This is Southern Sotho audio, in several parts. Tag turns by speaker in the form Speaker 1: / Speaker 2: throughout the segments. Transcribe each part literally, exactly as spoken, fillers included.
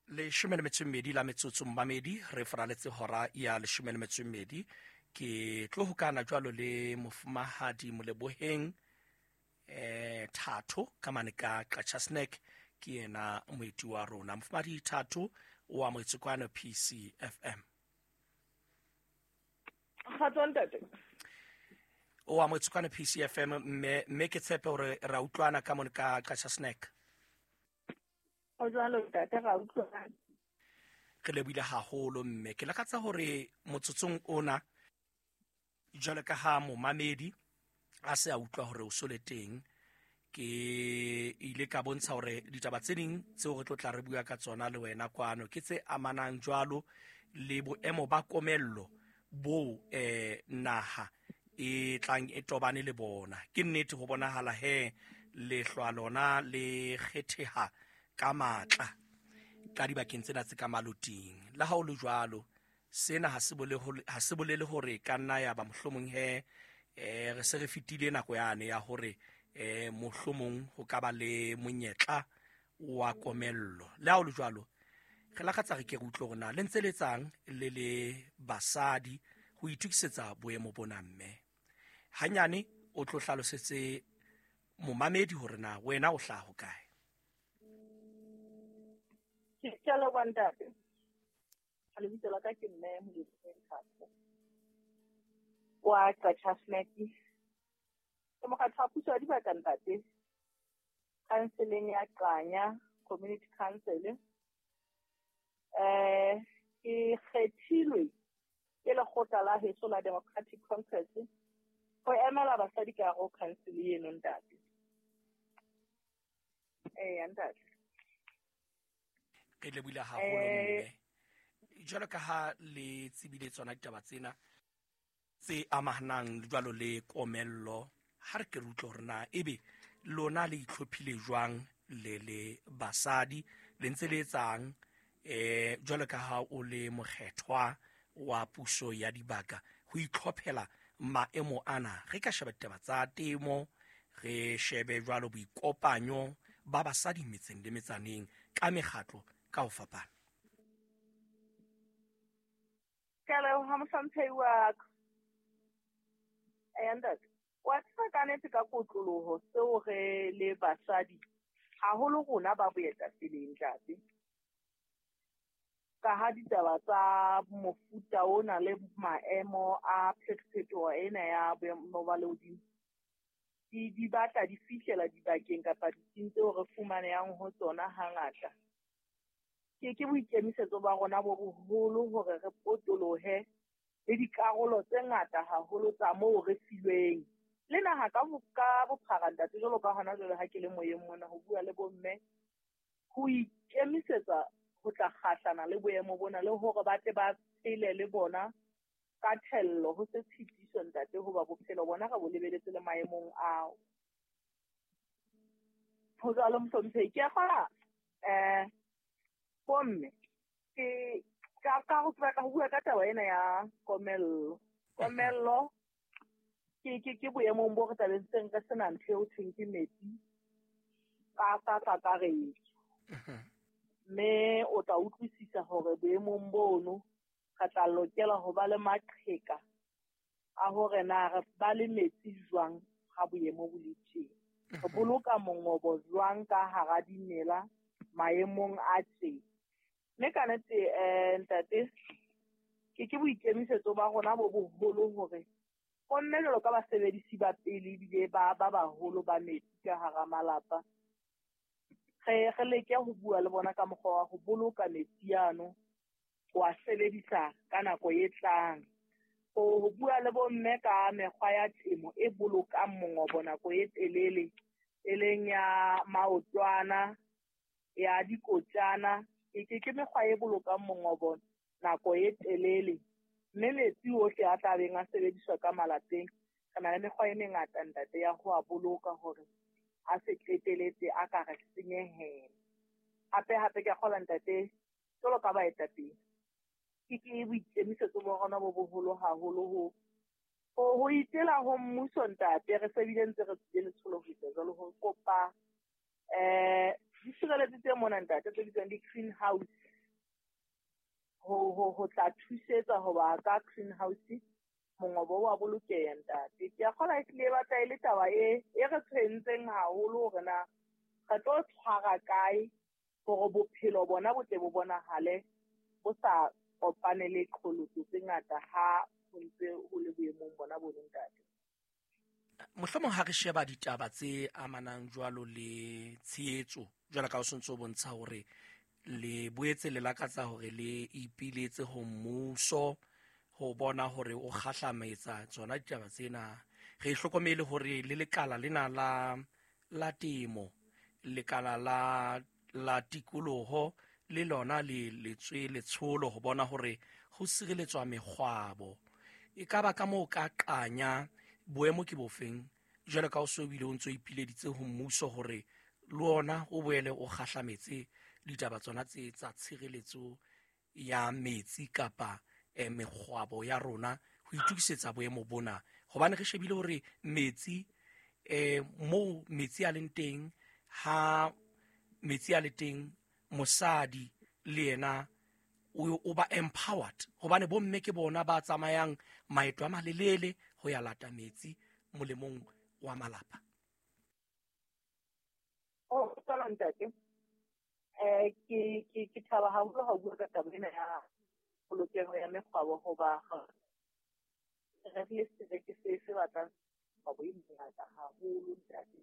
Speaker 1: Leshome le metso e mmedi la metsotso, mmamedi, re faraletse hora ya leshome le metso e mmedi. Ke tlo hokana jwalo le mofumahadi Moleboheng eh Thato ka mane ka Qacha Snack. Ke yena moeti wa rona. Mofumahadi Thato, o amohetse kwano P C F M.
Speaker 2: Kgatso, ntate.
Speaker 1: O amohetse kwano P C F M, mme mme ke tshepe hore ra utlwana ka mone ka Qacha Snack.
Speaker 2: Ho jwalo, ntate, ra utlwana.
Speaker 1: Re lebohile haholo, mme ke lakatsa hore motsotsong ona, jwalo ka ha momamedi a se a utlwa hore o so le teng, ke ile ka bontsha hore ditaba tse ding tseo re tlo tla re bua ka tsona le wena kwano ke tse amanang jwalo le boemo ba komello bo eh naha e tlang e tobane le bona. Ke nnete, ho bonahala he lehlwa lona le kgetheha ka matla ka dibakeng tsena tse ka maloting. Le ha o le jwalo, sena ha se bolele ha se bolele hore ka nna ya ba mohlomong he eh re se re fetile nako yane ya hore eh mohlomong ho ka ba le monyetla wa komello. Le ha o le jwalo, re lakatsa re ke re utlwe hore na le ntse le etsang le le basadi ho itokisetsa boemo bona. Mme hanyane o tlo hlalosetse momamedi hore na wena o hlaha hokae.
Speaker 2: Ke a leboha, ntate. Lebitso la ka ke mme Moleboheng Thato wa Qacha Snack. Ke mokgatlo wa puso ya dibaka, ntate, councileng ya Qanya Community Council. eh ke kgethilwe ke lekgotla la heso la Democratic Congress ho emela basadi ka hare ho council eno, ntate. Eya, ntate.
Speaker 1: Re lebohile haholo.
Speaker 2: Eh,
Speaker 1: mme jwalo ka ha le tsebile tsona ditaba tsena tse amanang jwalo le komello, ha re ke re utlwe hore na ebe lona le itlhophile jwang le le basadi, le ntse le etsang eh jwalo ka ha o le mokgethwa wa puso ya dibaka ho itlhophela maemo ana. Re ka sheba ditaba tsa temo, re shebe jwalo boikopanyo ba basadi metseng le metsaneng ka mekgatlo ka ho fapana.
Speaker 2: Ke a leboha, mohlomphehi wa ka. Eya, ntate, wa tseba ka nnete ka kotloloho seo re le basadi, haholo rona ba boetapeleng, ntate, ka ha ditaba tsa mofuta ona le maemo a phetophetoho ena ya boemo ba lehodimo di di batla di fihlela dibakeng kapa ditsing tseo re fumanehang ho tsona hangata. Ke ke boikemisetso ba rona bo boholo hore re potolohe le dikarolo tse ngata haholo tsa moo re filweng le naha ka bo- ka bophara, ntate, jwalo ka hona jwale ha ke le moyeng mona ho bua le bomme, ho ikemisetsa ho tla kgahlana le boemo bona le hore ba tle ba phele le bona ka thello, ho se tshitiso, ntate, hoba bophelo bona re bo lebeletse le maemong ao. Ho jwalo, mohlomphehi. Ke a kgola um bomme ke ka ka ho batla ho bua ka taba ena ya komello. Komello ke ke ke boemong bo re tla seng re sena ntho eo thweng ke metsi ka ka kakaretso, mme o tla utlwisisa hore boemong bono re tla lokela ho ba le maqheka a hore na re ba le metsi jwang ha boemo bo le tjena, re boloka mongobo jwang ka hara dimela maemong a tje. Mme ka nnete, um ntate, ke ke boikemisetso ba rona bo boholo hore bomme jwalo ka basebedisi ba pele ebile ba ba baholo ba metsi ka hara malapa, re re leke ho bua le bona ka mokgwa wa ho boloka metsi ano, ho a sebedisa ka nako e tlang, ho ho bua le bomme ka mekgwa ya temo e bolokang mongobo nako e telele, e leng ya maotwana, ya dikotjana. ke ke ke mekgwa e bolokang mongobo nako e telele, mme metsi ohle a tla beng a sebediswa ka malapeng, re na le mekgwa e mengata, ntate, ya ho a boloka hore a se qeteletse a ka re senyehela. Hape hape ke a kgolwa, ntate, jwalo ka baetapele, ke ke boikemisetso ba rona bo boholo haholo ho ho ho itela ho mmuso, ntate. Re se bile ntse re tswile letsholo ho etsa jwalo, ho kopa eh ditshireletsi tse mona, ntate, tse bitswang di-greenhouse. ho ho ho tla thusetsa hoba ka greenhouse mongobo wa bolokeha ntate. Ke a kgolwa ehlile e batla e le taba e e re tshwentseng haholo hore na re tlo tshwara kae hore bophelo bona bo tle bo bonahale bo sa kopane le qholotso tse ngata ha ho ntse ho le boemong bona bo ntate.
Speaker 1: Mohlomong ha re sheba ditaba tse amanang jwalo le tshehetso, jwalo ka o sontso o bontsha hore le boetse le lakatsa hore le ipiletse ho mmuso ho bona hore o kgahlametsa tsona ditaba tsena. Re hlokomele hore le lekala lena la la temo, lekala la la tikoloho le lona le letswe letsholo ho bona hore ho sireletswa mekgwabo. E ka ba ka moo ka qanya boemo ke bofeng jwalo ka o so bile o ntso ipileditse ho mmuso hore le ona o boele o kgahlametse ditaba tsona tse tsa tshireletso ya metsi kapa eh, mekgwabo ya rona ho itukisetsa boemo bona, hobane re shebile hore metsi eh, moo metsi a leng teng, ha metsi a le teng mosadi le yena o ba empowered, hobane bomme ke bona ba tsamayang maeto a malelele ho ya lata metsi molemong wa malapa.
Speaker 2: Oh, tsala ntate. Eh ke ke ke thaba haholo ha o bua ka taba ena ya polokeho ya mekgwabo, hoba re le sebeke se se batlang kgwabo e mengata haholo ntate.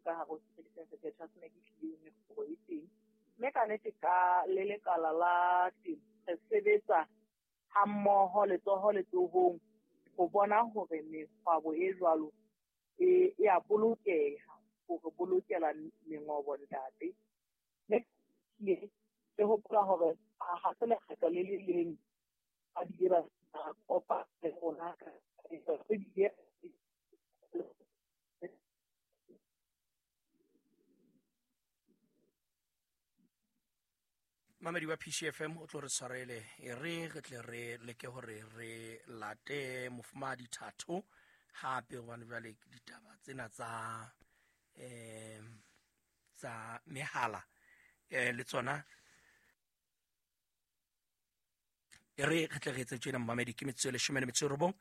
Speaker 2: Ka hare ho setereke sa Sekgetho se ne ke tlile mekgwabo e teng. Mme ka nnete ka le lekala la temo re sebetsa hammoho letsoho letsohong ho bona hore mekgwabo e jwalo e e a bolokeha, hore bolokela mengobo ntate. Mme ke hopola hore ha se lekgetlo le le leng ba bile ba kopa le rona ka bile
Speaker 1: Mamedi wa P C F M o tlo re tshwarele, e re re tle re leke hore re late mofumahadi Thato hape, hobane jwale ditaba tsena tsa eh tsa mehala eh le tsona e re re tle re etse tjena mamedi ke metsotso e leshome le metso e robong,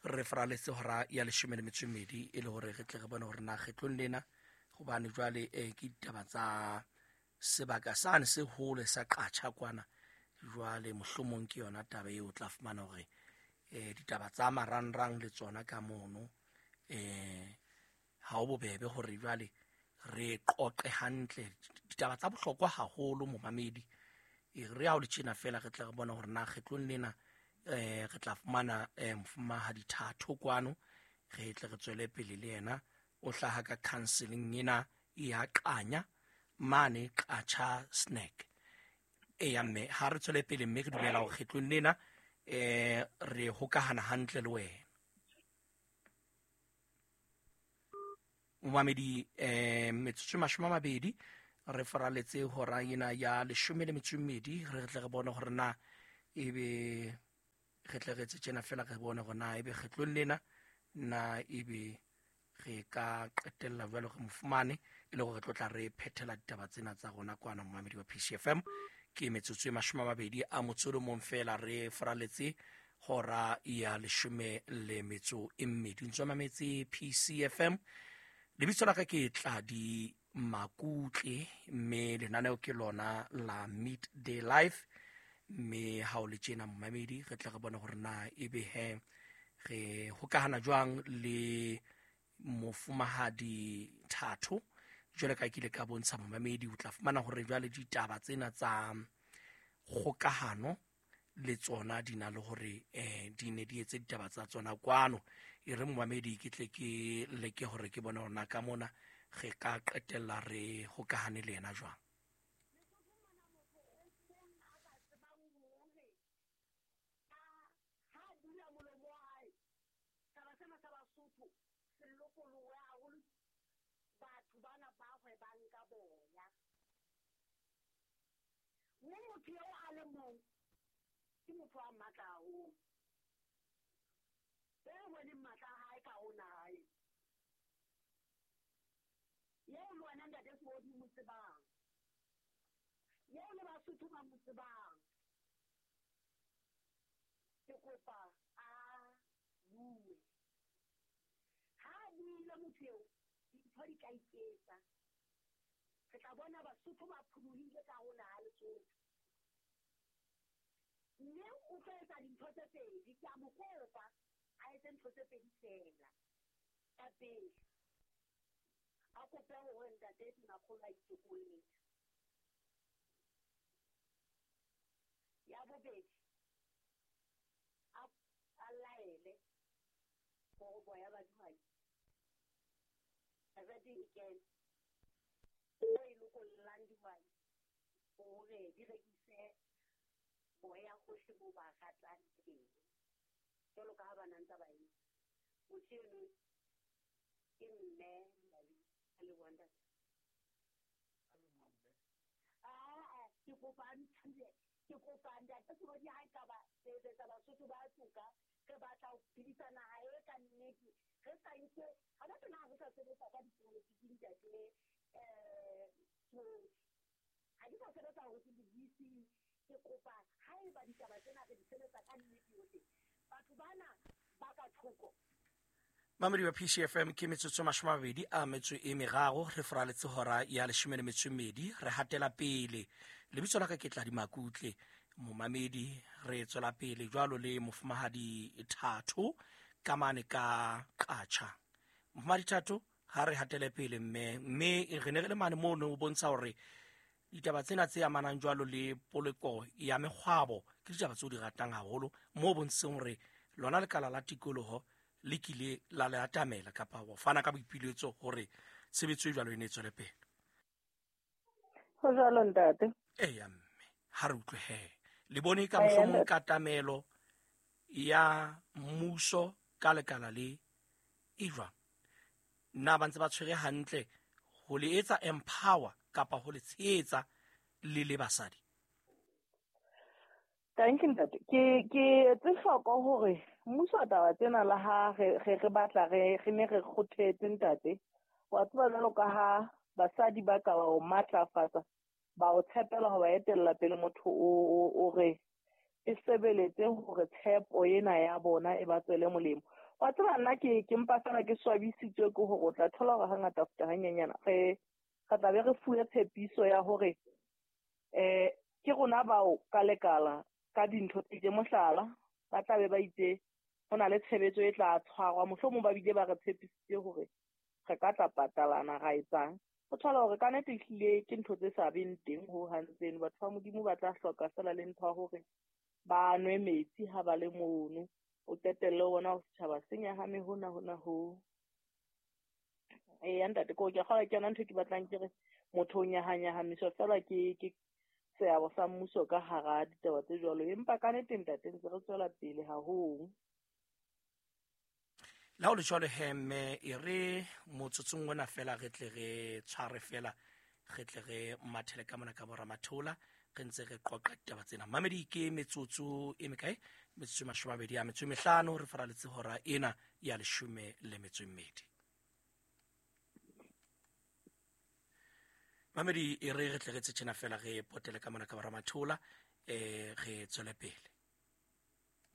Speaker 1: re faraletse hora ya leshome le metso e mmedi e le hore re tle re bone hore na kgetlong lena, hobane jwale eh ke ditaba tsa sebaka sane se hole sa Qacha kwana, jwale mohlomong ke yona taba eo o tla fumana hore eh ditaba tsa marangrang le tsona ka mono eh ha o bobebe hore jwale re qoqe hantle ditaba tsa bohlokwa haholo momamedi. E re ha o le tjena fela re tla re bona hore na kgetlong lena eh re tla fumana eh mofumahadi Thato kwano, re tle re tswele pele le yena. O hlaha ka counseling ena ya Qanya mane Qacha Snack. Eya mme ha re tswele pele mme re dumela hore kgetlong lena eh re hokahana hantle le wena momamedi. Eh metsotso e mashome a mabedi re faraletse hora ena ya leshome le metso e mmedi, re tle re bone hore na ebe re tle re etse tjena fela re bone hore na ebe kgetlong lena na ebe re ka qetella jwalo re mo fumane e le hore re tlo tla re phethela ditaba tsena tsa rona kwana momamedi wa P C F M. Ke metsotso e mashome a mabedi a motso o mong fela re faraletse hora ya leshome le metso e mmedi. Ntso mametse P C F M, lebitso la ka ke Tladi Makutle, mme lenaneo ke lona la Midday Life. Mme ha o le tjena momamedi re tle re bone hore na ebe he re hokahana jwang le mofumahadi Thato. Jwale ka ke ile ka bontsha momamedi, o tla fumana hore jwale ditaba tsena tsa kgokahano le tsona di na le hore eh di ne di etse ditaba tsa tsona kwano. E re momamedi ke tle ke leke hore ke bone hore na ka mona re ka qetella re hokahane le yena jwang.
Speaker 3: Motho eo a le mong ke motho a matla haholo, e boneng matla a hae ka ho naha eo le wena ntate Seodi mo tsebang, eo le Basotho ba mo tsebang. Ke kopa a bue. Ha a buile motho eo, dintho di tla iketsa. Re tla bona Basotho ba pholohile ka ho naha Lesotho. Mme o tlo etsa dintho tse pedi, ke a mo kopa a etse ntho tse pedi feela. Ya pele, a kope hore ntate Tonakgolo a itokolle. Ya bobedi, a a laele hore boya ba dihwai rete e kene o e lokollang dihwai hore di rekise boya hohle moo ba ratang teng, jwalo ka ha ba na ntse ba etsa. Motho eno ke mme Lali, a leboha ntate. Aa, ke kopa a nthule, ke kopa ntate Sebodi ha ekaba re etsetsa Basotho ba toka, re batla ho phedisa naha e ka nnete, re sa nke hona tjena ha re sa sebetsa ka dipolotiki ntate um Sebodi. Ha ke sa sebetsa hore ke le-D C, ke kopa haeba ditaba tsena re di sebetsa ka nnete yohle, batho bana ba ka thoko.
Speaker 1: Mamedi wa P C F M, ke metsotso mashome a mabedi a metso e meraro re foraletse hora ya leshome le metso e mmedi. Re hatela pele. Lebitso la ka ke Tladi Makutle. Momamedi, re tswela pele jwalo le mofumahadi Thato ka mane ka Qacha. Mofumahadi Thato, ha re hatele pele mme mme re ne re le mane moo ne o bontsha hore ditaba tsena tse amanang jwalo le poloko ya mekgwabo ke ditaba tseo di ratang haholo, moo bontsheng hore lona lekala la tikoloho le kile la le atamela kapa ho fana ka boipiletso hore tshebetso e jwalo e ne e tswele pele.
Speaker 2: Ho jwalo, ntate.
Speaker 1: Eya mme, ha re utlwe he, le bone ka
Speaker 2: Eya,
Speaker 1: mohlomong
Speaker 2: ntate.
Speaker 1: Katamelo ya mmuso ka lekala le e jwang? Na ba ntse ba tshwere hantle ho le etsa empower kapa ho le tshehetsa le le basadi?
Speaker 2: Thank you, ntate. Ke ke etse hloko hore mmuso wa taba tsena la ha re re re batla re re ne re kgothetse, ntate. Wa tseba, jwalo ka ha basadi ba ka ba o matlafatsa, ba o tshepela ho ba etella pele, motho o o o re e sebeletse hore tshepo ena ya bona e ba tswele molemo. Wa tseba, nna ke ke mpa fela ke swabisitswe ke hore o tla thola hore hangata futa hanyenyana re re tla be re fuwe tshepiso ya hore eh ke rona bao ka lekala ka dintho tse itseng. Mohlala, ba tla be ba itse ho na le tshebetso e tla tshwarwa, mohlomong ba bile ba re tshepisitse hore re ka tla patalana ra etsang, o thola hore ka nnete ehlile ke ntho tse sa beng teng ho hang tseno. Batho ba Modimo ba tla hloka fela le ntho ya hore ba nwe metsi ha ba le mono. O qetelle o bona hore setjhaba se nyahame hona hona ho. Eya ntate, ko ke kgolwa ke yona ntho e ke batlang ke re motho o nyahanyahamiswa fela ke ke seabo sa mmuso ka hara ditaba tse jwalo, empa ka nnete ntate ntse re tswela pele haholo.
Speaker 1: Le ha o le jwalo he mme, e re motsotsong ona fela re tle re tshware fela, re tle re mathele ka mona ka boramathola, re ntse re qoqa ditaba tsena. Mamedi, ke metsotso e mekae? Metsotso e mashome a mabedi a metso e mehlano re faraletse hora ena ya leshome le metso e mmedi. Mamedi, e re re tle re tse tjena fela, re potele ka mona ka boramathola, um re tswele pele.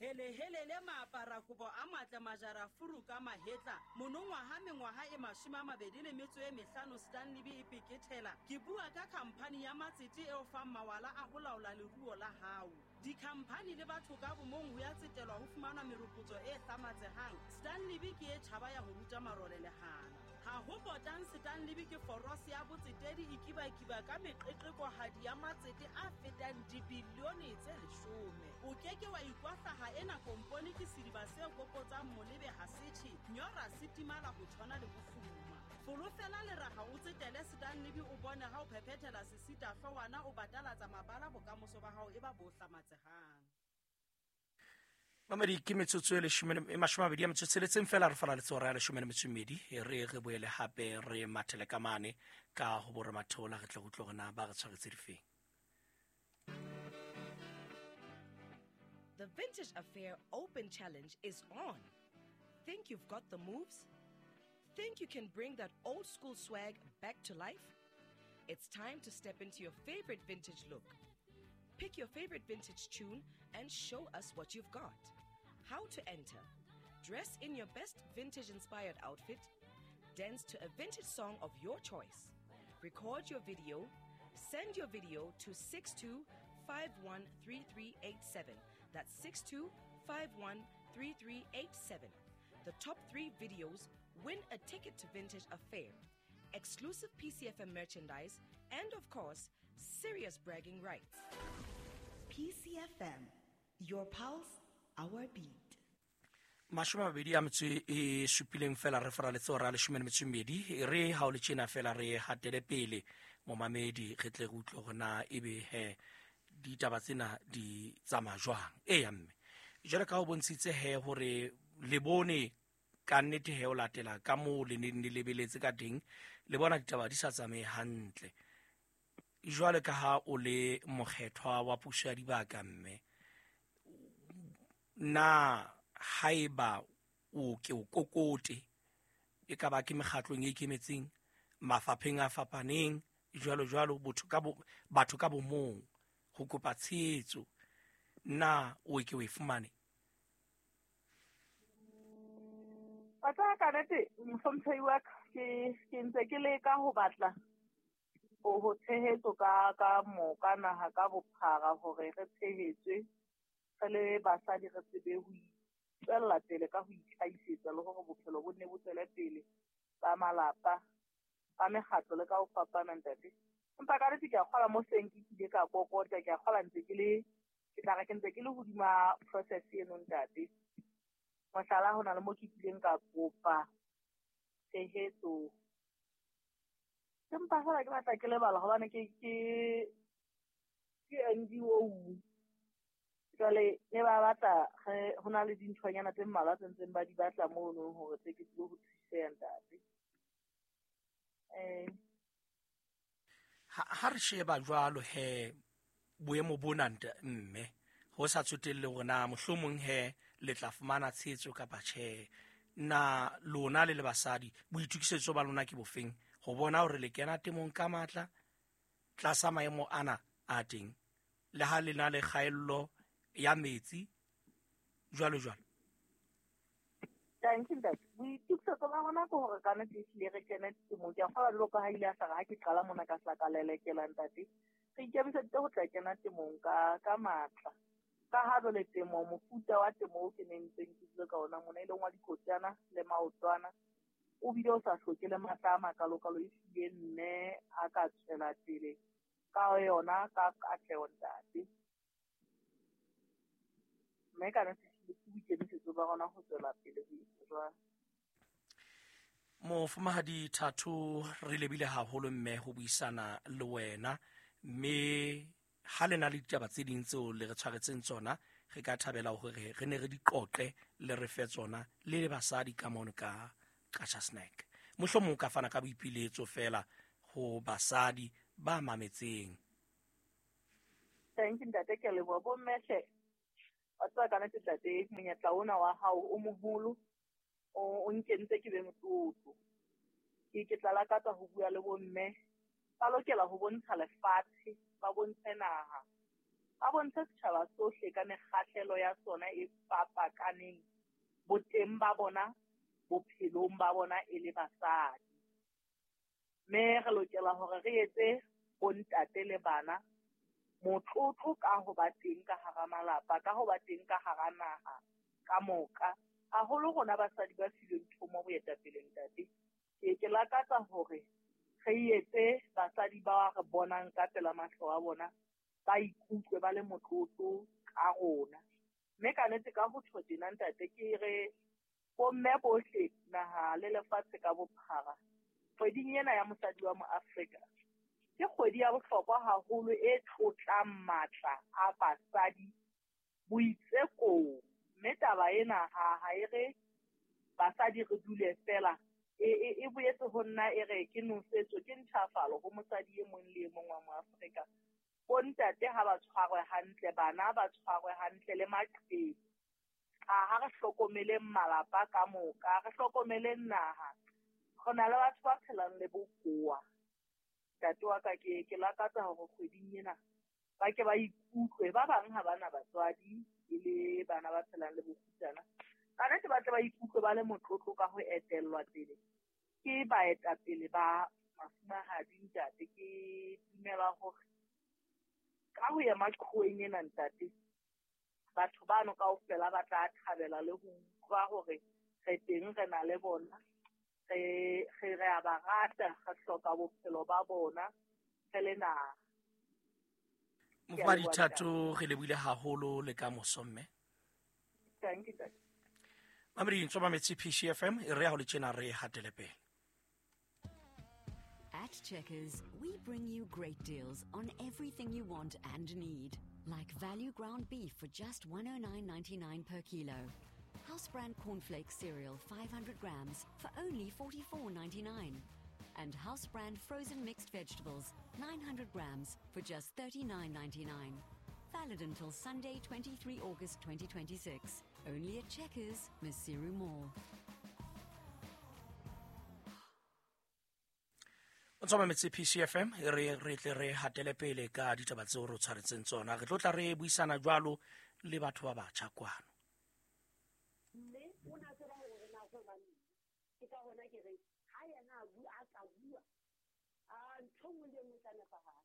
Speaker 4: Hele helele, maapara kobo a matle, majara furu ka mahetla, monongwaha mengwaha e mashome a mabedi le metso e mehlano Stanley e pekethela. Ke bua ka khamphani ya matsete eo fang mawala a ho laola leruo la hao, dikhamphani le batho ka bomong ho ya tsetelwa ho fumana meropotso e hlamatsehang. Stanley ke e tjhaba ya ho ruta marole lehana ha ho potang. Stanley ke forose ya botsetedi e kibakiba ka meqeqekohadi ya matsete a fetang dibilione tse leshome. O ke ke wa ikwahlaha. Ena kompone ke sediba se kokotsang molebe ha setjhe nyora se timala ho tshwana le bofuma. Folofela leraha o tsetele Stanley, o bone ha o phephethela sesita hloohwana, o batalatsa mabala, bokamoso ba hao e ba bo hlamatsehang.
Speaker 1: Mamedi, ke metsotso e leshome le- e mashome a mabedi a metso e tsheletseng fela re fala hora ya leshome le metso e mmedi. E re re boele hape re mathele ka mane ka ho boramathola, re tle re utlwe hore na ba re tshwaretse difeng.
Speaker 5: The Vintage Affair Open Challenge is on. Think you've got the moves? Think you can bring that old school swag back to life? It's time to step into your favorite vintage look. Pick your favorite vintage tune and show us what you've got. How to enter? Dress in your best vintage-inspired outfit, dance to a vintage song of your choice, record your video, send your video to six two five one three three eight seven. That's six two five one three three eight seven. The top three videos win a ticket to Vintage Affair, exclusive P C F M merchandise, and of course, serious bragging rights.
Speaker 6: P C F M, your pulse, our beat.
Speaker 1: Mashome a mabedi a metso e supileng fela re faraletse hora leshome le metso e mmedi, re ha o le tjena fela re hatele pele momamedi re tle re utlwe hore na ebe he ditaba tsena di tsamaya jwang. Eya mme jwale ka ho bontshitse he hore le bone ka nnete he o latela ka moo le neng le lebeletse ka teng, le bona ditaba di sa tsamaye hantle. Jwale ka ha o le mokgethwa wa puso ya dibaka mme, na haeba o ke o kokote e ka ba ke mekgatlong e ikemetseng, mafapheng a fapaneng jwalo jwalo, botho ka bo, batho ka bomong ho kopa tshehetso, na o ke o e fumane?
Speaker 2: Batla ka nnete mohlomphehi wa ka, ke, ke ntse ke leka ho batla ho, ho tshehetso ka, ka moka naha ka bophara hore re tshehetswe re le basadi, re tsebe ho tswella pele ka ho itlhahisetsa le hore bophelo bo nne bo tswele pele ba malapa, ba mekgatlo le ka ho fapana ntate. Empa ka nnete ke a kgolwa mo seng ke kile ka kokota, ke a kgolwa ntse ke le, ke tla re ke ntse ke le hodima process eno ntate. Mohlala, ho na le mo ke kileng ka kopa tshehetso, empa fela ke batla ke lebala hobane ke, ke, ke N G O. Jwale ne ba batla re, ho na le dinthonyana tse mmalwa tse ntseng ba di batla mono hore tse ke tsebe ho thuseha ntate. Eh.
Speaker 1: Ha, ha re sheba jwalo he boemo bona nta mme, ho sa tsotelle hore na mohlomong he le tla fumana tshehetso kapa tjhe, na lona le le basadi boitokisetso ba lona ke bofeng ho bona hore le kena temong ka matla tlasa maemo ana a teng, le ha le na le kgaello ya metsi jwalo jwalo?
Speaker 2: Thank you, ntate. Boitokisetso ba rona ke hore ka nnete ehlile re kene temong. Ke a kgolwa jwalo ka ha ile a hlaka ha ke qala mona ka hla ka lelekela ntate. Re ikemiseditse ho tla kena temong ka, ka matla. Ka ha jwale temo, mofuta wa temo o ke neng ntseng ke dule ka ona mona, e leng wa dikotjana le maotwana, o bile o sa hloke le matla a makalokalo, ehlile mme a ka tswela pele ka yona ka katleho ntate. Mme ka nnete ehlile ke boikemisetso ba rona ho tswela pele ho etsa jwalo.
Speaker 1: Mofumahadi Thato, re lebile haholo mme ho buisana le wena, mme ha le na le ditaba tse ding tseo le re tshwaretseng tsona, re ka thabela hore re ne re di qoqe le re fe tsona le le basadi ka mono ka Qacha Snack. Mohlomong o ka fana ka boipiletso fela ho basadi ba mametseng.
Speaker 2: Thank you ntate, ke a leboha. Bomme hle, wa tseba ka nnete ntate, monyetla ona wa hao o moholo, o, o nkentse ke be motlotlo. Ke, ke tla lakatsa ho bua le bomme, ba lokela ho bontsha lefatshe, ba bontshe naha, ba bontshe setjhaba sohle ka mekgahlelo ya sona e fapakaneng, boteng ba bona, bophelong ba bona e le basadi. Mme re lokela hore re etse bontate le bana motlotlo ka ho ba teng ka hara malapa, ka ho ba teng ka hara naha ka moka. Haholo rona basadi ba filweng thomo boetapeleng ntate. Ke, ke lakatsa hore re etse basadi ba re bonang ka pela mahlo a bona, ba ikutlwe ba le motlotlo ka rona. Mme ka nnete ka ho tjho tjena ntate, ke re bomme bohle naha le lefatshe ka bophara, kgweding ena ya mosadi wa Moafrika ke kgwedi ya bohlokwa haholo e tlotlang matla a basadi boitsekong. Mme taba ena ha, ha e re basadi re dule fela, e, e, e boetse ho nna e re ke nosetso, ke ntjhafalo ho mosadi e mong le e mong wa Moafrika. Bontate ha ba tshwarwe hantle, bana ba tshwarwe hantle le maqheku. Ha, ha re hlokomeleng malapa ka moka, re hlokomeleng naha. Re na le batho ba phelang le bokowa. Ntate wa ka, ke, ke lakatsa hore kgweding ena Ba ke ba ikutlwe, ba bang ha bana batswadi e le bana ba phelang le bokgutsana. Ka nnete ba tle ba ikutlwe ba le motlotlo ka ho etellwa pele ke baetapele ba mafumahadi ntate. Ke dumela hore ka ho ya maqhoweng ena ntate, batho bano kaofela ba tla thabela le ho utlwa hore re teng, re na le bona, re re re a ba rata, re hloka bophelo ba bona re le naha.
Speaker 1: Mofumahadi Thato, re lebohile haholo le ka moso mme.
Speaker 2: Thank you, ntate.
Speaker 1: Mamedi ntso mametse P C F M, e re ya ho le tjena re hatele pele.
Speaker 7: At Checkers, we bring you great deals on everything you want and need. Like value ground beef for just one oh nine ninety-nine per kilo. House brand cornflakes cereal five hundred grams for only forty-four ninety-nine. And house brand frozen mixed vegetables nine hundred grams for just thirty-nine ninety-nine. Valid until Sunday, twenty-three August twenty twenty-six. Only at Checkers, Maseru Mall.
Speaker 1: O tswa mametse P C F M, e re re tle re hatele pele ka ditaba tseo re tshwaretseng tsona. Re tlo tla re buisana jwalo le batho ba batjha kwano.
Speaker 3: Mme o na tseba hore na ho bane. Ke ka hona ke re ha yena a bua a ka bua, a ntho nngwe le nngwe tla nepahala.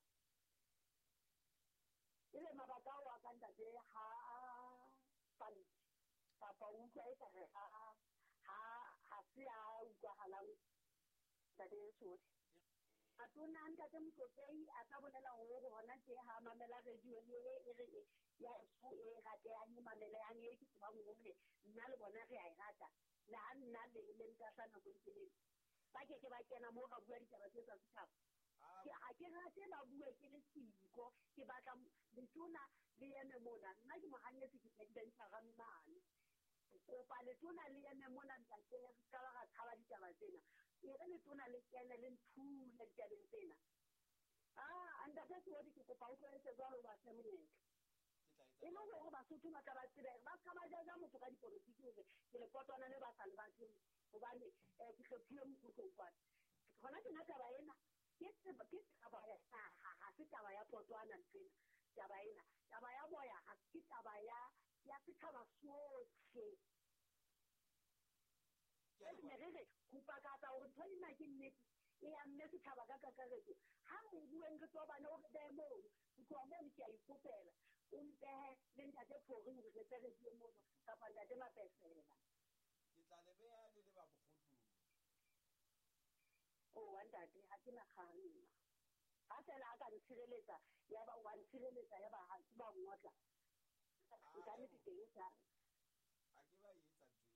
Speaker 3: Ebe mabaka ao a ka ntate ha a paletse kapa o utlwa e ka re ha ha ha se a utlwahalang ntate Sodi. Atona ntate Motlotlei a ka bolela hore hona tje ha mamela radio le e re ya so e ratehang e mamelehang e ke tsebang hore nna le bona re a e rata. Le ha nna le le ntahla nako e telele. Ba ke ke ba kena moo ra bua ditaba tse tsa setjhaba. Ke ha ke rate ba bue ke le siko, ke batla letona le eme mona. Nna ke mohanyetsi ke president-ara mane. Kopa letona le eme mona ntate, re ska ba ra tshaba ditaba tsena. E re letona le kene le nthule ditabeng tsena. Ah, ntate Sodi, ke kopa o tlohetse jwalo ba fe monyetla. E le hore Basotho ba tla ba tsebe, ba ska ba jaja motho ka dipolotiki hore ke lepotwana le ba sa le batleng hobane eh, ke hlophile mokgutlong kwana. Hona tjena taba ena ke tseba ke taba ya naha, ha se taba ya potwana nthwena. Taba ena, taba ya boya ha ke taba ya ya setjhaba sohle. Jwale ne re re ho pakatsa hore ntho ena ke nnete e amme setjhaba ka kakaretso. Ha re bueng re tobane o re behe mono, ho tloha mono ke a ikopela. O mpehe le ntate Phori hore re tle re bue mono kapa ntate Mapesela.
Speaker 8: Ke tla le beha le le ba bokgotlong.
Speaker 3: Oh, ntate, ha ke na kgang nna. Ha feela a ka ntshireletsa, ya ba wa ntshireletsa, ya ba ha ke ba ngotla. Nka nnete teng sa.
Speaker 8: Ha ke ba etsa ntho eo.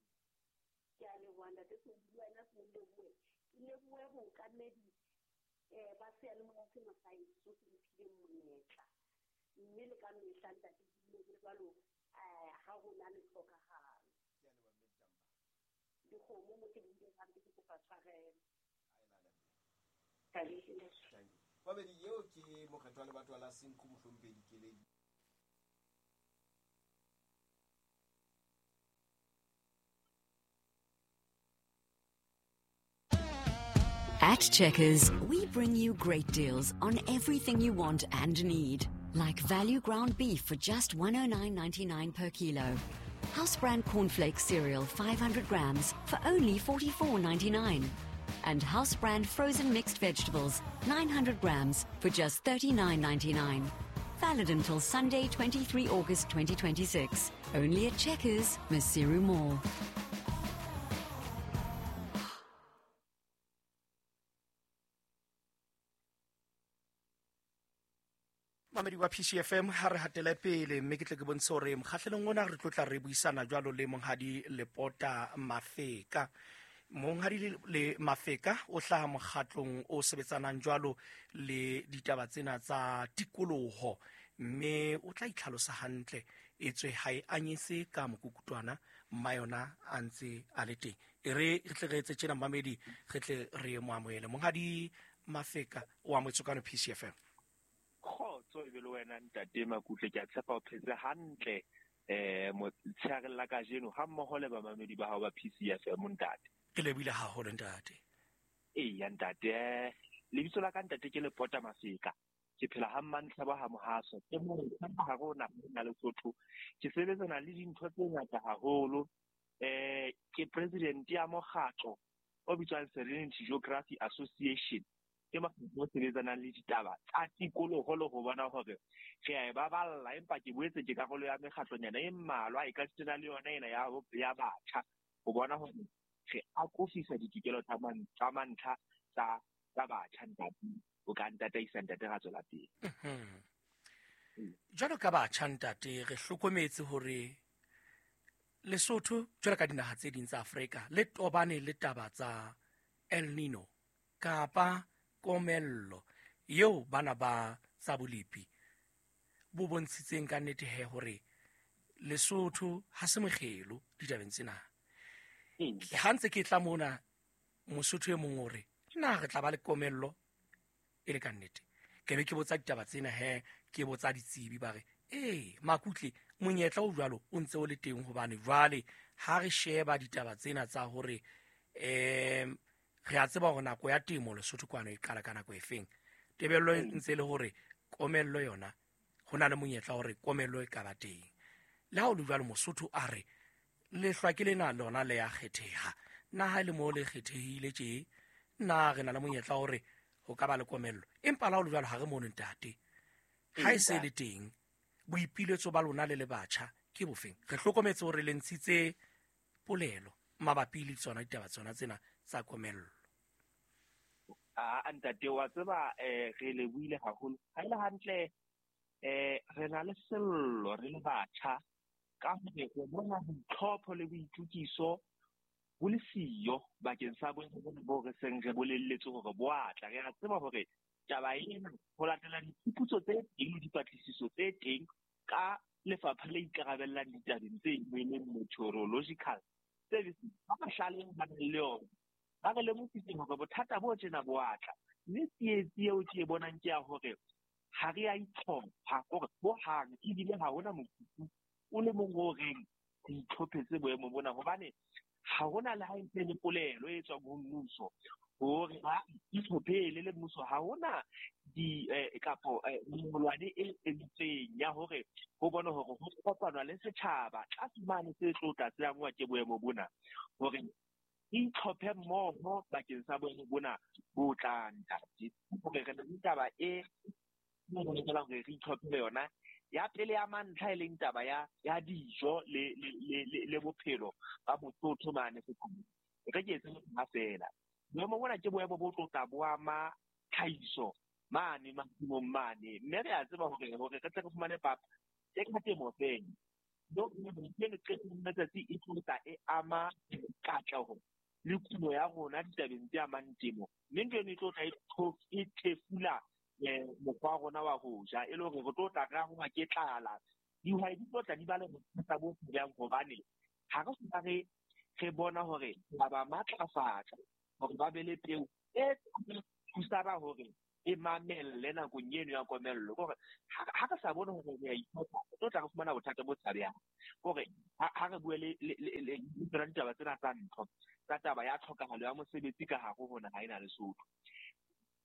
Speaker 3: Ke a leboha ntate Sodi, le wena se o lebohe. Ke lebohe bookamedi eh ba seyalemoya sena sa heso se mphileng monyetla. Mme le ka mehla ntate ke dule ke jwalo eh ha ho na le tlhokahalo.
Speaker 8: Ke a leboha mme Ditamba.
Speaker 3: Dikgomo mo ke di buileng hampe ke kopa tshwarelo.
Speaker 8: Ha e lale mme. Thank you. Babedi eo ke mokgethwa wa lebatowa la Senqu Mohlomphehi Dikeledi.
Speaker 7: At Checkers, we bring you great deals on everything you want and need. Like value ground beef for just one oh nine ninety-nine per kilo. House brand cornflakes cereal five hundred grams for only forty-four ninety-nine. And house brand frozen mixed vegetables nine hundred grams for just thirty-nine ninety-nine. Valid until Sunday, twenty-three August twenty twenty-six. Only at Checkers, Maseru Mall.
Speaker 1: Mamedi wa P C F M, ha re hatele pele mme ke tle ke bontshe hore mokgahlelong ona re tlo tla re buisana jwalo le Monghadi Lepota Mafeka. Monghadi le, le Mafeka o hlaha mokgatlong o sebetsanang jwalo le ditaba tsena tsa tikoloho, mme o tla itlhalosa hantle etswe ha e anyese ka mokukutwana mma yona a ntse a le teng. E re re tle re etse tjena mamedi, re tle re mo amohele. Monghadi Mafeka o amohetswe kwano P C F M.
Speaker 9: Kgotso e be le wena ntate Makutle, ke a tshepa o phetse hantle eh motsheareng la kajeno ha mmoho le bamamedi ba hao ba P C F M ntate.
Speaker 1: Ke lebohile haholo ntate.
Speaker 9: Eya ntate, lebitso la ka ntate ke Lepota Mafeka. Ke phela ha Mmantlhabo ha Mohaso. Ke motjha hare ho naha ya Lesotho. Ke sebetsana le dintho tse ngata haholo. Eh ke president ya mokgatlo o bitswang Serenity Geography Association. Ke mokgatlo o sebetsanang le ditaba tsa tikoloho le ho bona hore re a e baballa, empa ke boetse ke karolo ya mekgatlonyana e mmalwa e ka sitana le yona ena ya ya batjha ho bona hore re akofisa ditokelo tsa man tsa mantlha tsa tsa batjha ntate. O ka ntataisa ntate ra tswela pele.
Speaker 1: Jwalo ka batjha ntate, re hlokometse hore Lesotho jwalo ka dinaha tse ding tsa Afrika le tobane le taba tsa El Nino kapa komello eo bana ba tsa bolepi bo bontshitseng ka nnete he hore Lesotho ha se mokgelo ditabeng tsena. Ha ntse ke tla mona Mosotho e mong o re na re tla ba le komello e le ka nnete. Ke be ke botsa ditaba tsena he, ke botsa ditsebi ba re ee Makutle monyetla o jwalo o ntse o le teng, hobane jwale ha re sheba ditaba tsena tsa hore em re a tseba hore nako ya temo Lesotho kwano e qala ka nako e feng, tebello e ntse le hore komello yona ho na le monyetla hore komello e ka ba teng. Le ha o le jwalo Mosotho a re lehlwa ke lena lona le ya kgetheha, na ha le mo le kgethehile tje na re na le monyetla hore ho ka ba le komello, empa la o le jwalo ha re mono ntate ha e se le teng. Boipiletso ba lona le le batjha ke bofeng? Re hlokometse hore le ntshitse polelo mabapi le tsona ditaba tsona tsena tsa komello.
Speaker 9: A ntate wa tseba eh re le buile haholo. Ha ile hantle eh re na le sello re le batjha ka hore re bona boitlhopho le boitukiso bo le siyo bakeng sa boemo bo re seng re bolelletse hore bo a tla. Re a tseba hore taba ena ho latela diphuputso tse teng le dipatlisiso tse teng ka lefapha le ikarabellang ditabeng tse e leng Meteorological Services, ba mahlale ba nang le yona ba re lemositse hore bothata bo tjena bo a tla. Mme tsietsi eo ke e bonang ke ya hore ha re a itlhopha hore hohang, ebile ha hona mokutu o le mong o reng re itlhophetse boemo bona, hobane ha hona le ha e ntse le polelo e tswang ho mmuso hore ba itlhophele le mmuso. Ha hona di kapo mengolwane e entseng ya hore ho bone hore ho kopanwa le setjhaba tlase mane se tlo tla se angwa ke boemo bona, hore itlhophe mmoho bakeng sa boemo bona bo tlang ntate. Hore re na le taba e re lokelang hore re itlhophele yona ya pele ya mantlha, e leng taba ya ya dijo le le le le bophelo ba Mosotho mane setjhabeng. E ka ke etse ha fela boemo bona ke boemo bo tlo tla bo ama tlhahiso mane masimong mane, mme re a tseba hore hore re tle re fumane papa e ka temo fela. No ke qetellong letsatsi e tlo tla e ama katleho le kuno ya rona ditabeng tse amang temo, mme ntho eno e tlo tla e thefula mokgwa wa rona wa ho ja, e le hore re tlo tla re angwa ke tlala. Dihwai di tlo tla di ba le bothata bo jang, hobane ha re soka re re bona hore ba ba matlafatsa hore ba be le peo e thusana hore e mamelle nakong eno ya komello. Kore ha re sa bone hore re a itlhopha, re tlo tla re fumana bothata bo tshabehang. Kore ha re bue le le tsona ditaba tsena tsa ntho tsa taba ya tlhokahalo ya mosebetsi ka hare ho naha ena Lesotho,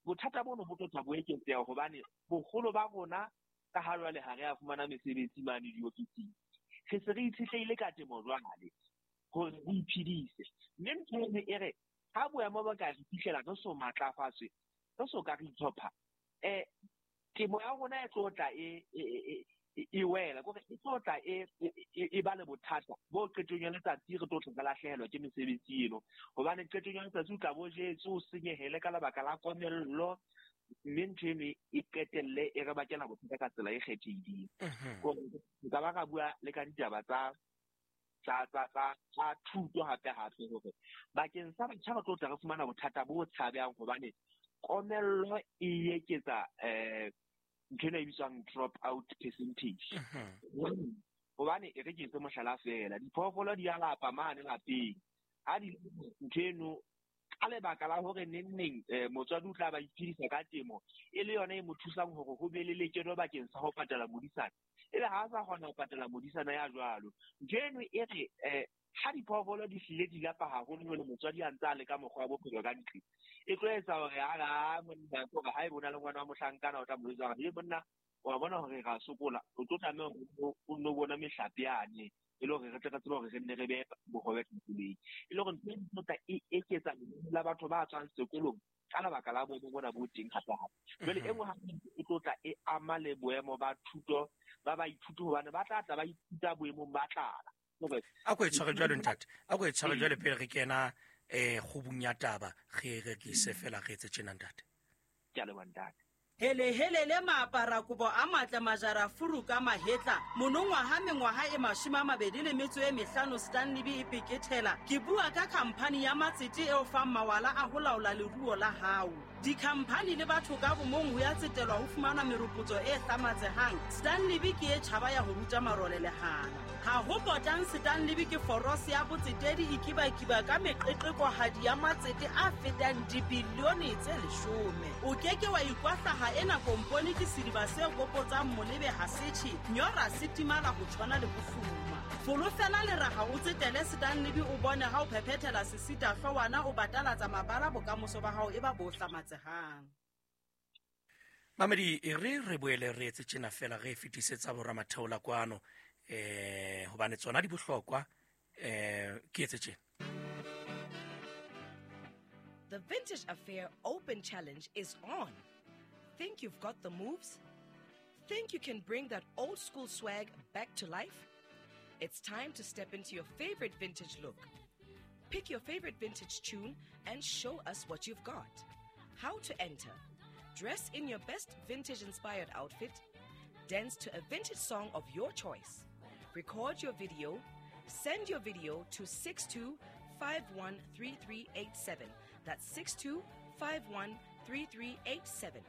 Speaker 9: bothata bono bo tlo tla bo eketseha, hobane boholo ba rona ka ha jwale ha re a fumana mesebetsi mane diofising, re se re itshetlehile ka temo jwale hore re iphedise. Mme ntho eno e re ha boemo ba ka re fihlela re so matlafatswe, re so ka re itlhopha, eh temo ya rona e tlo tla e e wela, kore e tlo tla e e ba le bothata bo qetong ya letsatsi re tlo tla lahlehelwa ke mesebetsi eno, hobane qetong ya letsatsi o tla bo jetse o senyehele ka lebaka la komello, mme ntho eno e qetelle e re bakela bothata ka tsela e kgethehileng. Kore nka ba ka bua le ka ditaba tsa tsa tsa tsa tsa thuto hape hape, hore bakeng sa batjha re tlo tla re fumana bothata bo tshabehang, hobane komello e eketsa eh ntho ena e bitswang drop out percentage. Hobane e re ke etse mohlala fela, diphoofolo di a lapa mane lapeng, ha di ntho eno Ka lebaka la hore neng neng motswadi o tla ba iphedisa ka temo e le yona e mo thusang hore ho be le lekeno bakeng sa ho patala modisana. Ebe ha a sa kgona ho patala modisana ya jwalo. Ntho eno e re eh ha diphoofolo di hlile di lapa haholo jwale motswadi a ntse a leka mokgwa wa bophelo ka ntle. E tlo etsa hore a ra monna hore ha e bona le ngwana wa mohlankana o tla mo jwetsa hore monna wa bona hore ra sokola o tlo tlameha hore o nno bona mehlape yane e le hore re tle re tsebe hore re nne re behe bohobe tafoleng. E le hore ntho e tla e eketsa lenane la batho ba tswang sekolong ka lebaka la boemo bona bo teng hape hape. Jwale e nngwe hape e tlo tla e ama le boemo ba thuto ba baithuti hobane ba tla tla ba ithuta boemong ba tlala.
Speaker 1: A ko e tshware jwalo ntate, a ko e tshware jwale pele re kena eh kgubung ya taba re re ke se fela re etse tjena ntate.
Speaker 9: Ke a leboha ntate.
Speaker 4: Hele hele le maapara kobo a matle majara furu ka mahetla monongwaha mengwaha e mashome a mabedi le metso e mehlano Stanley B e pekethela. Ke bua ka khamphani ya matsete eo fang mawala a ho laola leruo la hao. Dikhamphani le batho ka bomong ho ya tsetelwa ho fumana meropotso e hlamatsehang. Stanley B ke e tjhaba ya ho ruta marole lehana. Ha ho potang Stanley B ke forose ya botsetedi e kibakiba ka meqeqekohadi ya matsete a fetang dibilione tse leshome. O keke wa ikwahlaha ena kompone ke sediba se kopotsang molebe ha setjhe nyora se timala ho tshwana le bofuma. Folofela le raha o tsetele Stanley B o bone ha o phephethela sesita hloohwana o batalatsa mabala bokamoso ba hao e ba bo hlamatsehang.
Speaker 1: Mamedi e re re boele re etse tjena fela re fetisetsa boramatheola kwano eh hobane tsona di bohlokwa eh ke etse tjena.
Speaker 5: The Vintage Affair Open Challenge is on. Think you've got the moves? Think you can bring that old school swag back to life? It's time to step into your favorite vintage look. Pick your favorite vintage tune and show us what you've got. How to enter. Dress in your best vintage-inspired outfit. Dance to a vintage song of your choice. Record your video. Send your video to six two five one three three eight seven. That's six two five one three three eight seven.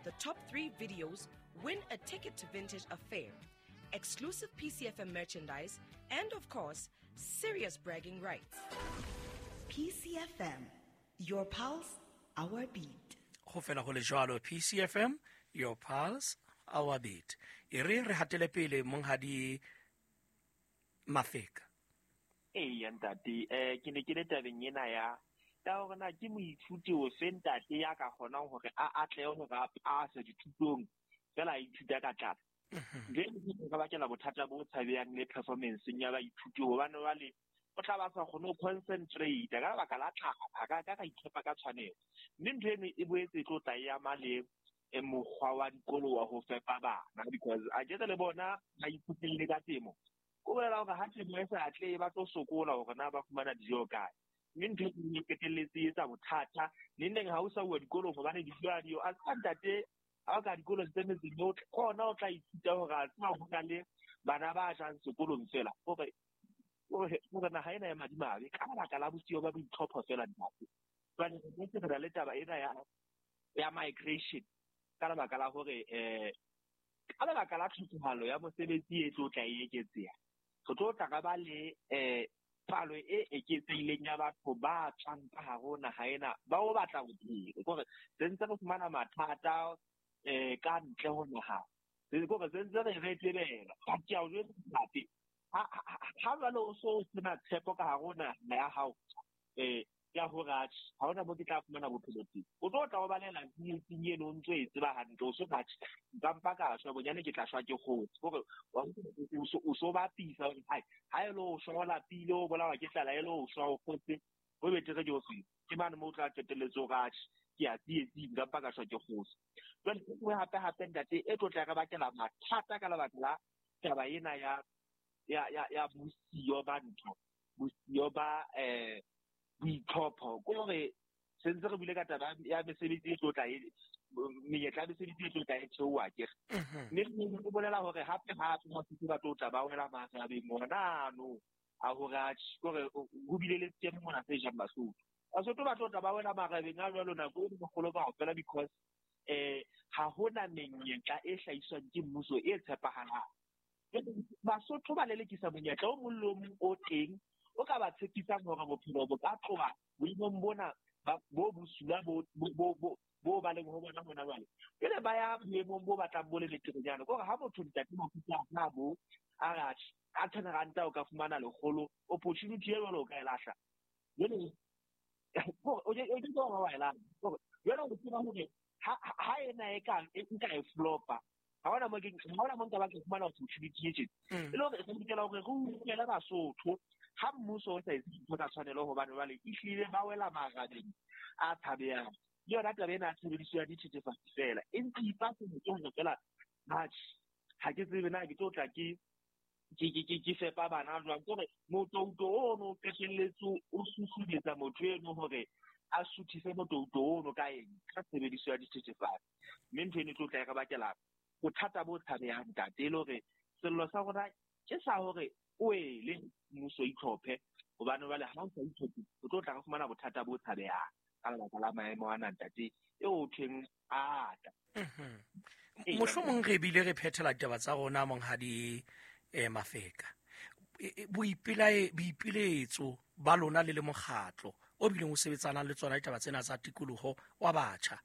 Speaker 5: The top three videos win a ticket to Vintage Affair, exclusive P C F M merchandise, and of course, serious bragging rights.
Speaker 6: P C F M, your pulse, our beat.
Speaker 1: Ho fela ho le jwalo, P C F M, your pulse, our beat. E re re hatele pele monghadi Mafeka.
Speaker 9: Eya ntate, eh ke ne ke le tabeng ena ya ya hore na ke moithuti ofe ntate ya ka kgonang hore a atlehe hore a pase dithutong fela a ithuta ka tlala. Jwale ke ka bakela bothata bo tshabehang le performance-eng ya baithuti hobane jwale o tla ba sa kgone ho concentrate ka lebaka la tlala, a ka ka itlhopha ka tshwanelo. Mme ntho eno e boetse e tlo tla e ama le mokgwa wa dikolo wa ho fepa bana because a ke le bona ba ithutile ka temo. Ko bolela hore ha temo e sa atlehe ba tlo sokola hore na ba fumana dijo kae. Mme ntho e qetelletse e etsa bothata neng neng ha o sa uwa dikolong hobane dijo ha diyo. A tseba ntate ha o ka dikolong tse metseng yotlhe kgona o tla ithuta hore a tseba ho na le bana ba jang sekolong fela hore hore naha ena ya madimabe ka lebaka la bosiyo ba boitlhopho fela ntate. Jwale re boetse re na le taba ena ya ya migration ka lebaka la hore eh ka lebaka la tlhokahalo ya mosebetsi e tlo tla e eketseha. Re tlo tla ka ba le eh palo e eketsehileng ya batho ba tswang ka hare ho naha ena ba o batla bophelo. Ke hore se ntse re fumana mathata eh ka ntle ho naha. Ke hore se ntse re re tebela. Ba ke a o jwetsa ntate, ha ha jwale o so sena tshepo ka hare ho naha ya hao eh ya hore atjhe ha hona mo ke tla fumana bophelo teng. O tlo tla o balela tsietsing eno o ntso e tseba hantle o so atjhe nka mpa ka shwa bonyane ke tla shwa ke kgotse. Hore o so bapisa hore hai ha e le o shwa o lapile o bolawa ke tlala e le o shwa o kgotse ho betere ke o se. Ke mane moo o tla qetelletse hore atjhe ke a tsietsing nka mpa ka shwa ke kgotse. Jwale e nngwe hape hape ntate e tlo tla re bakela mathata ka lebaka la taba ena ya ya ya ya bosiyo ba ntho bosiyo ba eh boitlhopho. Ke hore se ntse re buile ka taba ya mesebetsi e tlo tla e menyetla ya mesebetsi e tlo tla e theoha akere. Mme re bolela hore hape hape Basotho ba tlo tla ba wela marabeng ona ano a hore atjhe ke hore ho bile le seemo mona se jang Basotho. Basotho ba tlo tla ba wela marabeng a jwalo nako e kgolo kaofela because eh ha hona menyetla e hlahiswang ke mmuso e tshepahalang. Basotho ba lelekisa monyetla o mong le o mong o teng o ka ba tshepisang hore bophelo bo ka tloha boemong bona bo bosula bo bo bo bo ba leng ho bona hona jwale. Jwale ba ya boemong bo batlang bo le beterenyana. Ke hore ha motho ntate Mafika a bo a re atjhe, ka ten ranta o ka fumana lekgolo, opportunity e jwalo o ka e lahla. Jwale o ke o ke wa e lahla. Jwale o tseba hore ha ha ena e ka e nka e flopa. Ha hona mo ke ha hona mo nka ba ke fumana opportunity e tjena. E le hore re lokela hore re utlwele Basotho ha mmuso o sa etse dintho ka tshwanelo hobane jwale ehlile ba wela marabeng a tshabehang. Le yona taba ena ya tshebediso ya dithethefatsi fela e ntse ipatsa ke hore fela atjhe ha ke tsebe na ke tlo tla ke ke ke ke ke fepa bana jwang. Ke hore motouto ono o qetelletse o susumetsa motho eno hore a suthise motouto ono ka eng, ka tshebediso ya dithethefatsi. Mme ntho eno e tlo tla e re bakela bothata bo tshabehang ntate. E le hore sello sa rona ke sa hore o ele mmuso itlhophe, hobane jwale ha o sa itlhophe o tlo tla re fumana bothata bo tshabehang ka lebaka la maemo ana ntate eo ho thweng ata.
Speaker 1: Mohlomong re bile re phethela ditaba tsa rona monghadi eh Mafeka. Boipelae boipiletso ba lona le le mokgatlo o bileng o sebetsanang le tsona ditaba tsena tsa tikoloho wa batjha,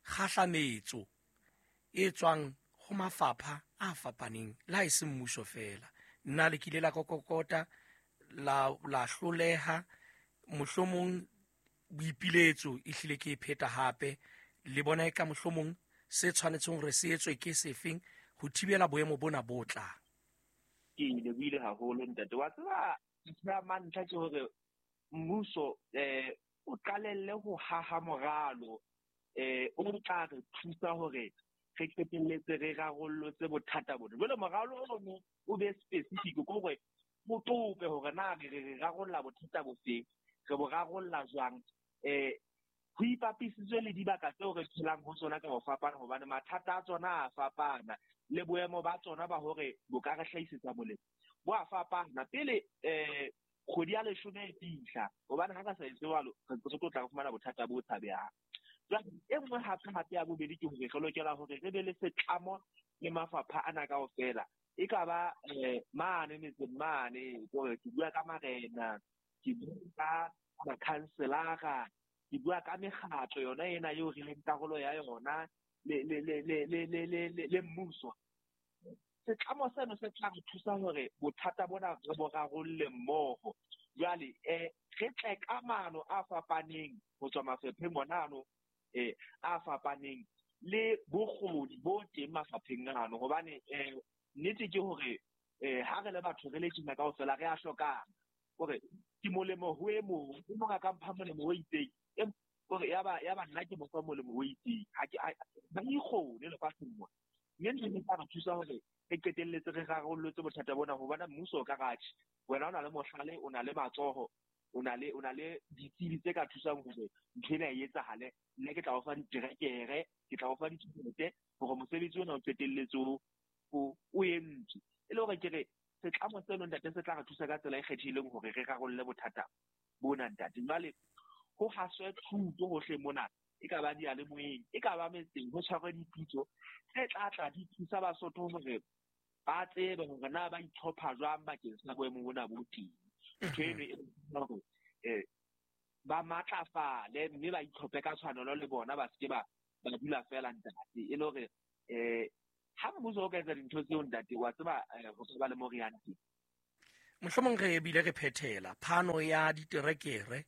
Speaker 1: kgahlametso e tswang ho mafapha a fapaneng la e seng mmuso fela. Nna le kile la kokokota la la hloleha, mohlomong boipiletso e hlile ke e pheta hape le bona e ka mohlomong se tshwanetseng hore se etswe ke sefeng ho thibela boemo bona bo tlang.
Speaker 9: Ke ile buile haholo ntate. Wa tseba ntho ya mantlha ke hore mmuso eh o qalelle ho haha moralo eh o tla re thusa hore re qetelletse re rarollotse bothata bona. Jwale moralo ono o be specific ke hore o tope hore na re re rarolla bothata bofeng, re bo rarolla jwang. Eh ho ipapisitswe le dibaka tseo re phelang ho tsona ka ho fapana, hobane mathata a tsona a fapana le boemo ba tsona ba hore bo ka re hlahisetsa molemo bo a fapana. Pele eh kgwedi ya leshome e fihla, hobane ha ka sa etse jwalo re ntse re tlo tla re fumana bothata bo tshabehang. Jwale e nngwe hape hape ya bobedi ke hore re lokela hore re be le setlamo le mafapha ana kaofela. E ka ba eh mane metseng mane, hore ke bua ka marena, ke bua ka makhanselara, ke bua ka mekgatlo yona ena eo re leng karolo ya yona le le le le le le le le le mmuso. Setlamo seno se tla re thusa hore bothata bona re bo rarolle mmoho. Jwale eh re tle ka maano a fapaneng ho tswa mafapheng ona ano eh a fapaneng le bokgoni bo teng mafapheng ano, hobane eh nnete ke hore eh ha re le batho re le tjena kaofela re a hlokana. Hore ke molemo ho e mong, e mong a ka mpha molemo o itseng, hore ya ba ya ba nna ke mo fa molemo o itseng. Ha ke ba ikgone lefatsheng mona. Mme ntho e tla re thusa hore re qetelletse re rarollotse bothata bona, hobane mmuso o ka ratjhe wena o na le mohlale, o na le matsoho, o na le o na le ditsebi tse ka thusang hore ntho ena e etsahale. Nna ke tla o fa diterekere, ke tla o fa ditjhelete hore mosebetsi ona o qetelletse o o entswe. E le hore ke re setlamo seno ntate se tla re thusa ka tsela e kgethehileng hore re rarolle bothata bona ntate. Jwale ho haswe thuto hohle mona, e ka ba diyalemoyeng, e ka ba metseng, ho tshwarwe dipitso tse tla tla di thusa Basotho hore ba tsebe hore na ba itlhopha jwang bakeng sa boemo bona bo teng. Ntho eno e hore eh ba matlafale mme ba itlhophe ka tshwanelo le bona, ba seke ba ba dula fela ntate. E le hore eh ha mmuso o ka etsa dintho tseo ntate, wa tseba ho ka ba le mo re yang teng.
Speaker 1: Mohlomong re bile re phethela phano ya diterekere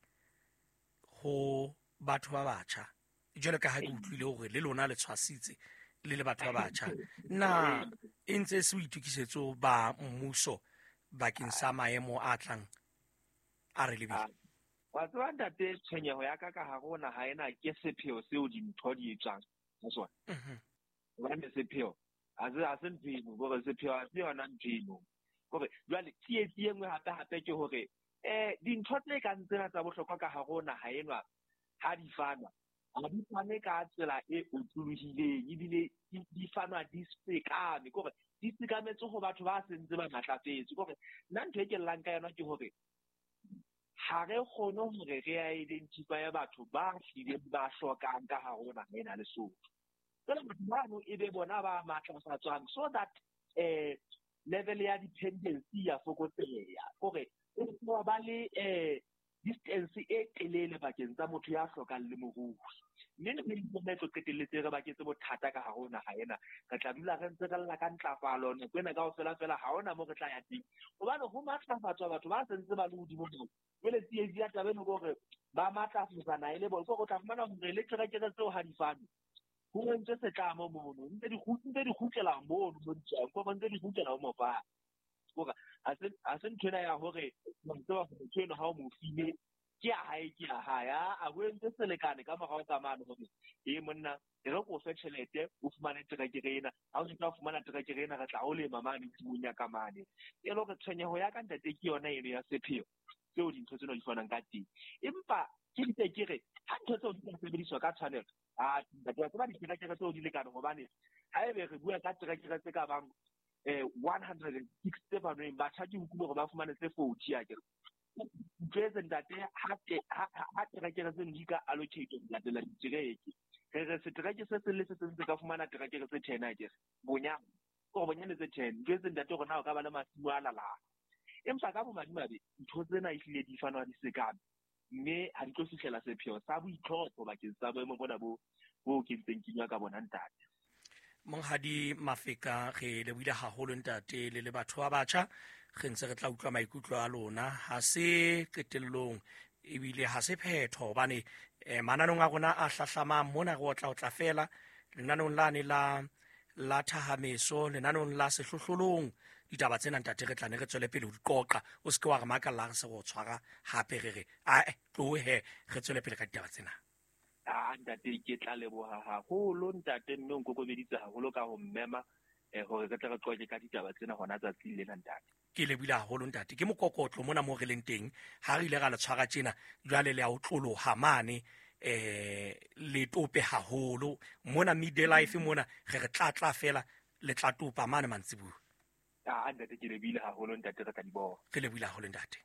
Speaker 1: ho batho ba batjha, jwalo ka ha ke utlwile hore le lona le tshwasitse le le batho ba batjha. Na e ntse se boitokisetso ba mmuso bakeng sa maemo a tlang a re lebile?
Speaker 9: Wa tseba ntate, tshwenyeho ya ka ka hare ho naha ena ke sepheo seo dintho di etswang ka sona. Hobane sepheo ha se ha se ntho eno, hore sepheo ha se yona ntho eno. Hore jwale tsietsi e nngwe hape hape ke hore eh dintho tse kang tsena tsa bohlokwa ka hare ho naha enwa ha di fanwa, ha di fane ka tsela e otlolohileng, ebile di fanwa di sekame, ke hore di sekametse ho batho ba sentse ba matlafetse. Ke hore nna ntho e ke llang ka yona ke hore ha re kgone hore re identify batho ba hlileng ba hlokang ka hare ho naha ena Lesotho. Jwale batho bano e be bona ba matlafatswang so that eh level ya dependency ya fokotseha. Hore o ba le eh distance e telele bakeng tsa motho ya hlokang le morui. Mme le mme tlo qetelletse re baketse bothata ka hare ho naha ena. Re tla dula re ntse re lla ka ntlafalo nako ena kaofela fela ha hona moo re tla ya teng. Hobane ho matlafatswa batho ba sentse ba le hodimo moo. Jwale tsietsi ya taba eno ke hore ba matlafatsa naha e le bona. Ke hore o tla fumana hore le terekere tseo ha di fanwe. Ho entswe setlamo mono, ntse di ntse di kgutlela mono mo di tswang, ke hore ntse di kgutlela ho mopane. Hore ha se ha se ntho ena ya hore wa tseba hore motho eno ha o mo file ke ya hae ke ya hae. A ho entse selekane ka morao ka mane hore e monna e re ko fe tjhelete o fumane terekere ena, ha o tla fumana terekere ena re tla o lema mane tshimong ya ka mane. E le hore tshwenyeho ya ka ntate ke yona eno ya sepheo tseo dintho tsena di fanang ka teng. Empa ke ntse ke re ha ntho tseo di ka sebediswa ka tshwanelo, a ntate wa tseba diterekere tseo di lekane hobane haebe re bua ka terekere tse ka bang eh one hundred and six tse fanweng batjha ke utlwile hore ba fumane tse forty akere. Utlwetse ntate ha ha terekere tseno di ka allocate ho latela ditereke. Re re setereke se seng le se seng se ka fumana terekere tse ten akere. Bonyane ke hore bonyane tse ten. Utlwetse ntate hore na o ka ba le masimo a lalang. Empa ka bomadimabe ntho tsena ehlile di fanwa di sekame, mme ha di tlo fihlela sepheo sa boitlhopho bakeng sa boemo bona bo bo ke ntseng ke ka bona ntate.
Speaker 1: Monghadi Mafeka, re lebohile haholo ntate le le batho ba batjha. Re ntse re tla utlwa maikutlo a lona. Ha se qetellong ebile ha se phetho hobane eh, mananong a rona a hlahlamang mona re otla otla fela lenaneong lane la la thahameso, lenaneong la sehlohlolong. Ditaba tsena ntate re tla ne re tswele pele ho di qoqa. O se ke wa re makalla re se re o tshwara hape re re ae tlohe re tswele pele ka ditaba tsena.
Speaker 9: Ah ntate ke tla leboha haholo ntate, mme o nkokobeditse haholo ka ho mmema eh hore re tle re qoqe ka ditaba tsena hona tsatsing lena ntate.
Speaker 1: Ke lebohile haholo ntate. Ke mokokotlo mona mo re leng teng ha re ile ra le tshwara tjena jwale le a o tloloha mane eh le tope haholo mona midday life mona re re tla tla fela le tla topa mane mantsibuya.
Speaker 9: Ah ntate ke lebohile haholo ntate, re tla di bona.
Speaker 1: Re lebohile haholo ntate.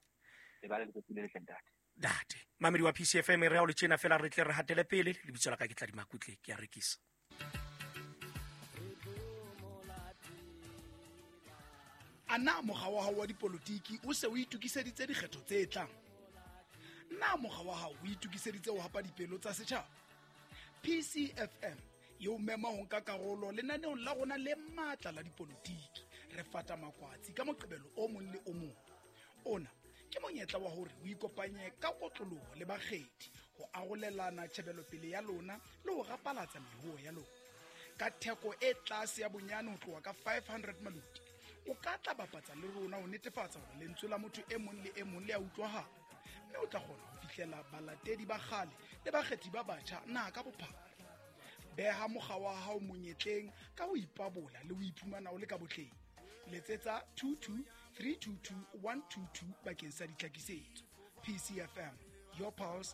Speaker 9: Le ba le letsatsi le letle ntate.
Speaker 1: Ntate mamedi wa P C F M re o le tjena fela re tle re hatele pele. Lebitso la ka ke tla di Makutle, ke a rekisa.
Speaker 10: A na mokga wa hao wa dipolotiki o se o itokiseditse dikgetho tse tlang? Na mokga wa hao o itokiseditse ho hapa dipelo tsa setjhaba? P C F M e o mema ho nka karolo lenaneong la rona le matla la dipolotiki. Re fata makwatsi ka moqebelo o mong le o mong. Ona ke monyetla wa hore o ikopanye ka kotloloho le bakgethi ho arolelana tjhebelopele ya lona le ho rapalatsa mehuo ya lona. Ka theko e tlase ya bonyane ho tloha ka five hundred maluti, o ka tla bapatsa le rona ho netefatsa hore lentswe la motho e mong le e mong le a utlwahala, mme o tla kgona ho fihlela balatedi ba kgale le bakgethi ba batjha naha ka bophara. Beha mokga wa hao monyetleng ka ho ipabola le ho iphumana o le ka botleng. Letsetsa two two three two two one two two bakeng sa ditlhakisetso. P C F M, your pulse,